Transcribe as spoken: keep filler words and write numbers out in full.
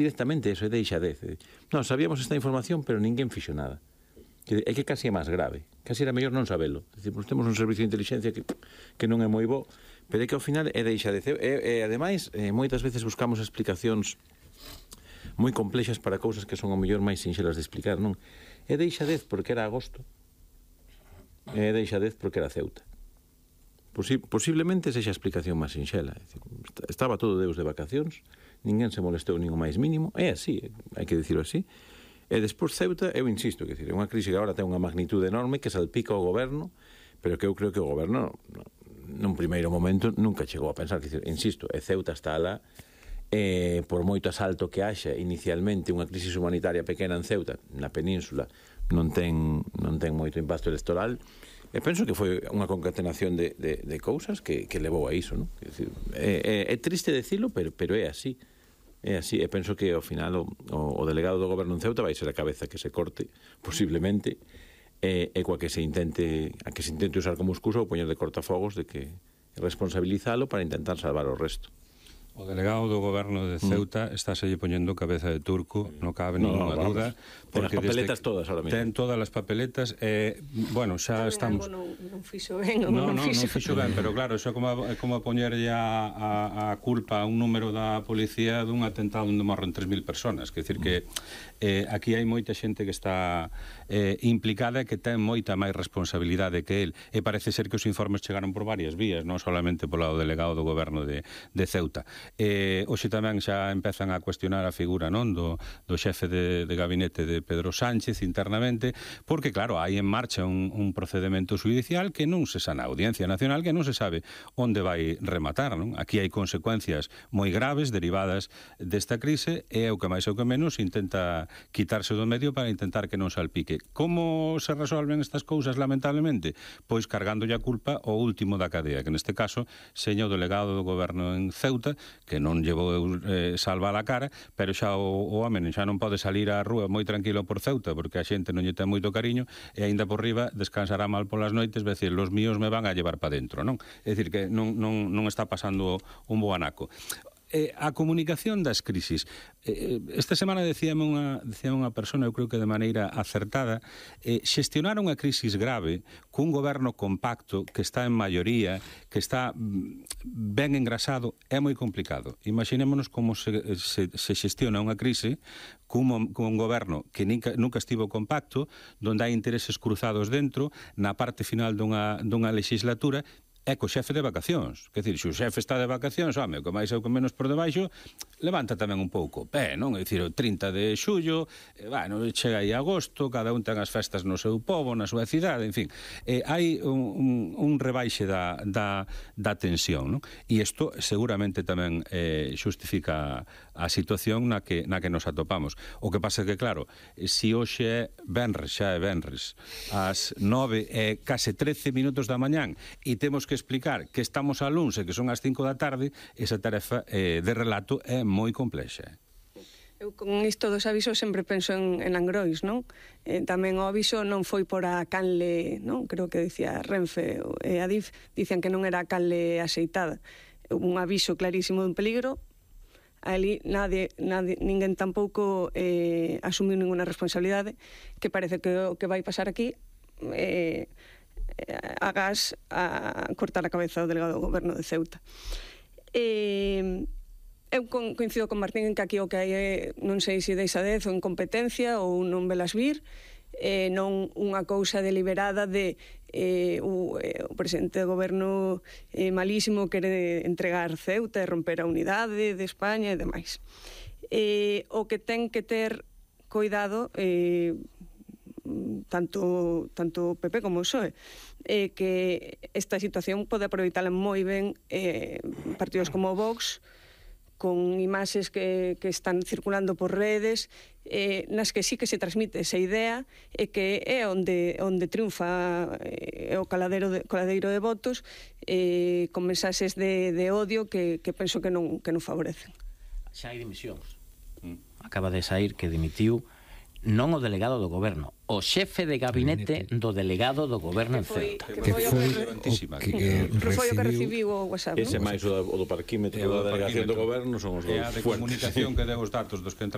directamente eso, é deixadez. Non, sabíamos esta información, pero ninguén fixo nada. É que casi é máis grave, casi era mellor non sabelo. Dicir, pues, temos un servicio de inteligencia que, que non é moi bo, pero é que ao final é deixadez. E, e ademais, eh, moitas veces buscamos explicacións moi complexas para cousas que son ao mellor máis sinxelas de explicar, non? É deixadez porque era agosto, é deixadez porque era Ceuta. Posi posiblemente sexa a explicación máis sinxela. Estaba todo Deus de vacacións, ninguén se molestou nin o máis mínimo, é así, hai que dicirlo así. E despois Ceuta, eu insisto, que é unha crise que agora ten unha magnitude enorme que salpica o goberno, pero que eu creo que o goberno nun primeiro momento nunca chegou a pensar, que, insisto, e Ceuta está alá, eh, por moito asalto que haxa inicialmente unha crisis humanitaria pequena en Ceuta, na península, non ten, non ten moito impacto electoral, e penso que foi unha concatenación de, de, de cousas que, que levou a iso, non? É, é, é triste decirlo, pero, pero é así. É así, e penso que ao final o, o delegado do goberno en Ceuta vai ser a cabeza que se corte, posiblemente, e, e coa que se intente, a que se intente usar como excusa ou poñer de cortafogos de que responsabilizalo para intentar salvar o resto. O delegado do goberno de Ceuta mm. está se poñendo cabeza de turco, non cabe no, ninguna no, duda. Ten as papeletas todas ahora mesmo. Ten todas as papeletas e, bueno, xa estamos... Non, non fixo ben, ou non, non, non fixo... non fixo ben, pero claro, iso é como, é como poñerlle a, a, a culpa a un número da policía dun atentado onde morren tres mil personas. Quer dicir que eh, aquí hai moita xente que está eh, implicada e que ten moita máis responsabilidade que el. E parece ser que os informes chegaron por varias vías, non solamente polo delegado do goberno de, de Ceuta. Eh, hoxe tamén xa empezan a cuestionar a figura, non, do, do xefe de, de gabinete de Pedro Sánchez internamente, porque claro, hai en marcha un, un procedimento judicial que non se sana, a Audiencia Nacional, que non se sabe onde vai rematar, non? Aquí hai consecuencias moi graves derivadas desta crise e o que máis ou que menos intenta quitarse do medio para intentar que non salpique. Como se resolven estas cousas, lamentablemente? Pois cargándolle a culpa ao último da cadea, que neste caso seña o delegado do goberno en Ceuta, que non non llevou eh, salva a cara, pero xa o, o home xa non pode salir á rúa moi tranquilo por Ceuta, porque a xente non lle ten moito cariño, e aínda por riba descansará mal polas noites, vai decir, los míos me van a llevar para dentro, non? É dicir, que non, non, non está pasando un bo anaco. Eh, a comunicación das crisis. Eh, esta semana decíame unha, decía unha persona, eu creo que de maneira acertada, eh, xestionar unha crisis grave cun goberno compacto que está en maioría, que está ben engrasado, é moi complicado. Imaginémonos como se, se, se xestiona unha crise cun, cun goberno que nunca, nunca estivo compacto, donde hai intereses cruzados dentro, na parte final dunha, dunha legislatura, é co xefe de vacacións. Quer dizer, se o xefe está de vacacións, home, o que máis é o que menos por debaixo, levanta tamén un pouco o pé, non? É dicir, o trinta de xullo, eh, bueno, chega aí agosto, cada un ten as festas no seu pobo, na súa cidade, en fin. Eh, hai un, un, un rebaixe da, da, da tensión, non? E isto seguramente tamén eh, xustifica a situación na que, na que nos atopamos. O que pasa é que, claro, se hoxe é venres, xa é venres, ás nove e case trece minutos da mañán, e temos que explicar que estamos a luns e que son as cinco da tarde, esa tarefa eh, de relato é moi complexa. Eu con isto dos avisos sempre penso en, en Angrois, non? Eh, tamén o aviso non foi por a canle, non? Creo que dicía Renfe e a Adif, dicen que non era a canle aceitada. Un aviso clarísimo dun peligro, ali nadie, nadie, ninguén tampouco eh, asumiu ninguna responsabilidade, que parece que o que vai pasar aquí eh, a gas a cortar a cabeza do delegado do goberno de Ceuta. Eh, eu coincido con Martín en que aquí o que hai é, non sei se deixadez ou incompetencia ou non velas vir, eh, non unha cousa deliberada de eh, o, eh, o presidente do goberno eh, malísimo quere entregar Ceuta e romper a unidade de España e demais. Eh, o que ten que ter cuidado eh, tanto tanto o P P como o P S O E, eh, que esta situación pode aproveitala moi ben eh, partidos como o Vox, con imaxes que, que están circulando por redes, eh, nas que sí que se transmite esa idea e que é onde, onde triunfa eh, o caladeiro de, coladeiro de votos, eh, con mensaxes de, de odio que, que penso que non, que non favorecen. Xa hai dimisións. Acaba de sair que dimitiu non o delegado do goberno, o xefe de gabinete do delegado do goberno en Ceuta. Que foi o que recibiu o WhatsApp, non? Ese máis o do parquímetro da delegación do goberno son os dous fuertes. E a de comunicación que deu os datos dos que entraron